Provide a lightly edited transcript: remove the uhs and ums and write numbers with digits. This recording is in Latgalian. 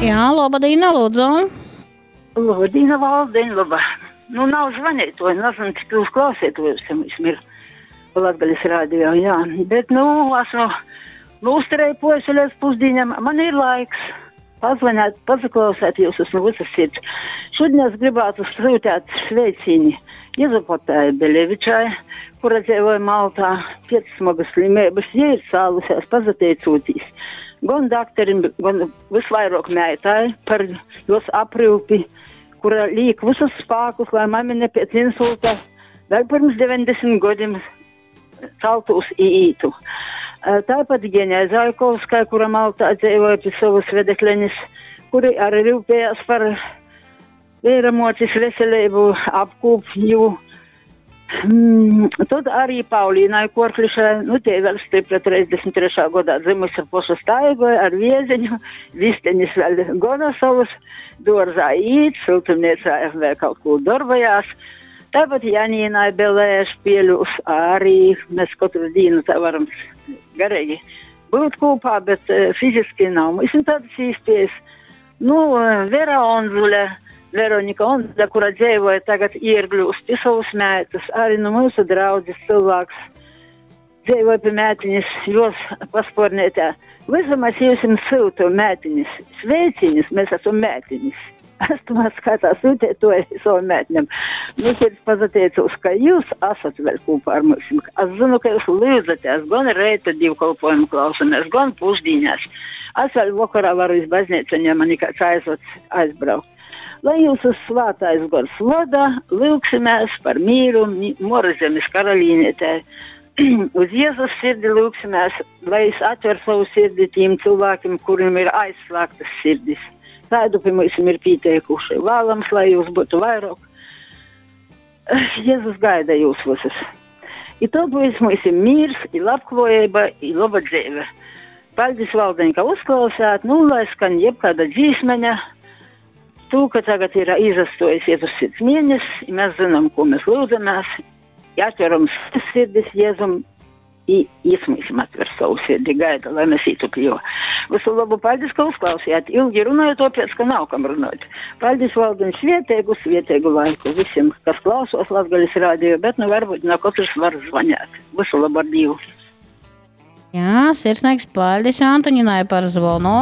Jā, laba dīna, lūdzu. Laba dīna, Valdeņ, laba. Nu, nav zvanītoju, nezinu, cik jūs klausītojus ir Latgales radio, jā. Bet, nu, esmu nūstreipojusi līdz pusdienam. Man ir laiks pazvanīt, pazaklausēt jūs no visas sirds. Šodien es gribētu sūtīt sveicīni Jezupotai Belevičai, kura dzīvoja Maltā, pēc smagas slimības, ja ir cālusies, pazateicūtīs. Gan dakterim, gan visvairāk meitai par jos aprūpi, kura liek visus spēkus, lai mamine pēc insulta vēl pirms 90 gadiem celtos ītu. Tāpat Ģeņai Zaikovskai, kura Maltā dzīvoja pie savas vedeklenes, kuri arī rūpējās par vēramocis veselību, apkūpju. Tad arī Paulīnai Korklišai, nu tie vēl stipra 33. gadā dzimusi poša staigoja ar vieziņu, visteņas vēl gona savus, dārzā īt, siltumniecā vēl kaut ko darbojās. Tāpat Janīnai Belēš pieļūs arī, mēs katru dienu tā varam garīgi būt kopā, bet fiziski nav. Mums ir tādas iespējas. Nu, Vera Onzule, Veronika Onzule, kura dzīvoja tagad Iergļūs pie savas meitas, arī nu mūsu draudzes cilvēks dzīvoja pie mētiņas, jos paspornietē. Visu mēs jums sūtu mētiņas, sveiciņus, mēs esam mētiņas. Es tomēr skaitā sūtiet to savam mētņam. Nu, sirds pazateicos, ka jūs esat vēl kopā ar mums. Es zinu, ka jūs lūdzaties, gan reita dievkalpojumu klausamies, gan pusdienās. Es vēl vakarā varu iz baznīcu, ja man kāds aizved aizbraukt. Lai jūsu svētais gors vada, lūgsimies par mīru Morazemes karalīnētē. Uz Jēzus sirdi lūgsimies, lai es atver savu sirdi tiem cilvēkiem, kuriem ir aizslēgtas sirdis. Tādu pie mums ir pieteikuši. Vēlams, lai jūs būtu vairāk. Jēzus gaida jūs visus. I tad būs mums ir miers, i labklājība, i laba dzīve. Paldies, Valdeņ, ka uzklausāt. Nu, lai skan jebkāda dzīsmeņa. Tu, ka tagad ir izastojis Jēzus sirds mēnesis, i mēs zinām, ko mēs lūdzamies. I atveram sirdis Jēzum, i jis mums atver savu sirdi, gaida, lai mēs ītu pie jo. Visu labu, paldies, ka uzklausījāt. Ilgi runāju, tāpēc, ka nav kam runāt. Paldies, Valdiņ, svietēgu, svietēgu laiku visiem, kas klausos Latgales radio, bet nu varbūt ne katrs var zvanīt. Visu labu ar Dievu. Jā, sirsnīgs paldies Antoņinai par zvonu.